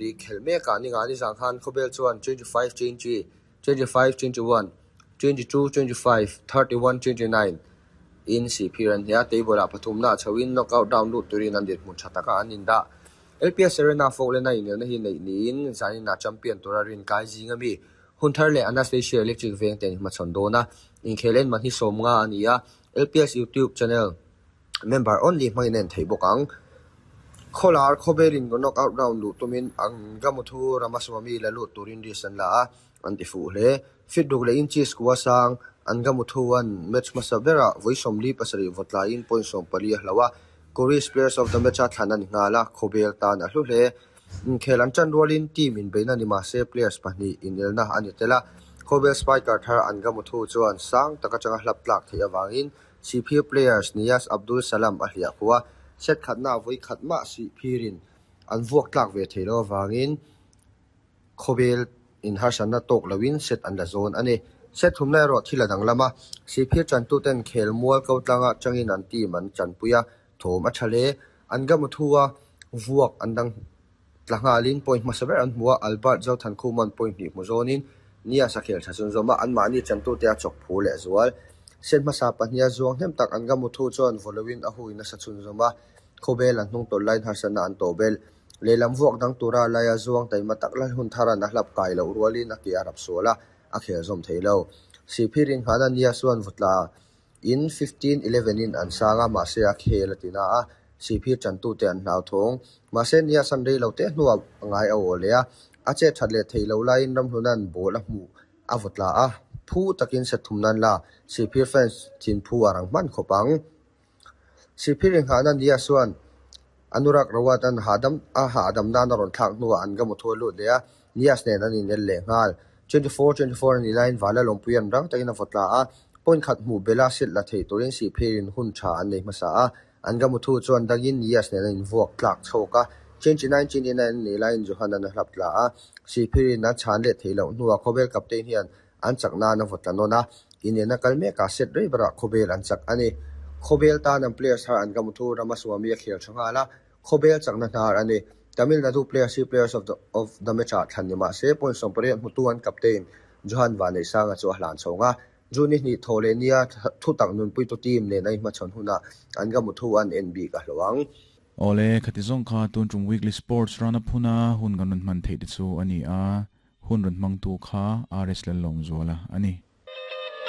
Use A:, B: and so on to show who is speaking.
A: Khelh mekah Ningani zan khan Khawbel chuan 25 20, 25 21, 22 25, 31 29 in Sihphir an hneh a, table-ah pathumna a chhoin knockout round lut turin an dinhmun tha taka an indah. LPS Arena Folkland-a inelna hi neih niin zaninah champion tura rinkai zing ami Hunthar leh Anastasia Electric veng te an inhmachhawn dawn a, inkhel en man hi 50 a ni a, LPS YouTube channel member only hmangin a en theih bawk ang. Khawlar Khawbelin knockout round luh tumin Angamuthu Ramaswamy la lut turin risk an la a, an ti fuh hle. Feet ruk leh inches kua sang Angamuthu-a'n match hmasa berah vawi 47 vaw tlaiin point 14 a hloh a, Korea's Players of the Match-a thlan a ni nghal a, Khawbel tan a hlu hle. Inkhel an ṭan rualin team inbeihna ni mah se players pahnih inelna a ni tel a, Khawbel spiker thar Angamuthu chuan sang tak aṭanga hlap tlak theih avangin Sihphir players Niyaz Abdul Salam a hliah khuh a, set khatna vawi khat mah Sihphirin an vuak tlak ve thei lo avangin Khawbel in harsatna tawk loin set an la zawn a ni. Set thumna erawh thil a danglam a, Sihphir chantuten khel mual ko tlanga tangin an team an chanpui a, thawm a tha hle. An gamuthu a vuak an dang tla nghalin point hmasa ber an hmu a, Albert Zothankhuma'n point hnih hmu zawnin Nias a khel tha chhunzawm a, anmahni chantute a chawk phu leh zual. Set hmasa pahniha zuang hnem tak an gamuthu chuan vaw loin a hui nasa chhunzawm a, Khawbel an hnung tawlh laiin harsatna an tawh belh. Lehlam vuak dang tura laia zuang taima tak lal hun tharan a hlap kai loh rualin a ke a rap sual a, a khel zawm thei lo. Sihphir inghahna Nias chuan vawtla in 15-11 in an sang a, mahse a khel a ti na a, Sihphir chantute an hlauthawng. Mahse Nias an rei lo teh hnuah a ngai a aw leh a, a chet that leh theih loh laiin Ramhluna'n ball a hmuh a vawtla a, phu takin set thum nan la, Sihphir fans thinphu a rang hman khawp ang. Sihphir inghahna Nias chuan Anurag Rawat an hahdam a hahdam nan a rawn thlak hnuah an gamu thu a lut leh a, Nias nen an inel leh nghal. 24, 24 a nih laiin Vala lawmpui an rang takin a vaw tla a, point khat hmuh bela set la theih turin Sihphirin hun tha an nei hmasa a, an gamu thu chuan dangin Nias nen an invuak tlak chhawk a, 29, 29 a nih laiin Johan an a hlap tla a, Sihphirin a chhan leh theih loh hnuah Khawbel captain hian an chak nan a vaw tla nawn a, inelna kal mekah set rei berah Khawbel an chak a ni. Khawbel tan an players thar an Gamuthu Ramaswamy a khel tha nghal a, Khawbel chakna hnar a ni. Tamil Nadu players hi players of the of the match ah thlan ni mah se point 80 hmutu an captain Johan Vanneihsanga chu a hlan chhawng a, June ni hnih thaw leh nia thutak nunpuitu team nen a inhmachhawn hunah an Gamuthu an en bik a hlawh ang.
B: Awle, khati zawng kha tun tum weekly sports run a phuna hun kan rawn hman theih te chu a ni a. Hun rawn hmangtu kha RS Lallawmzuala a ni.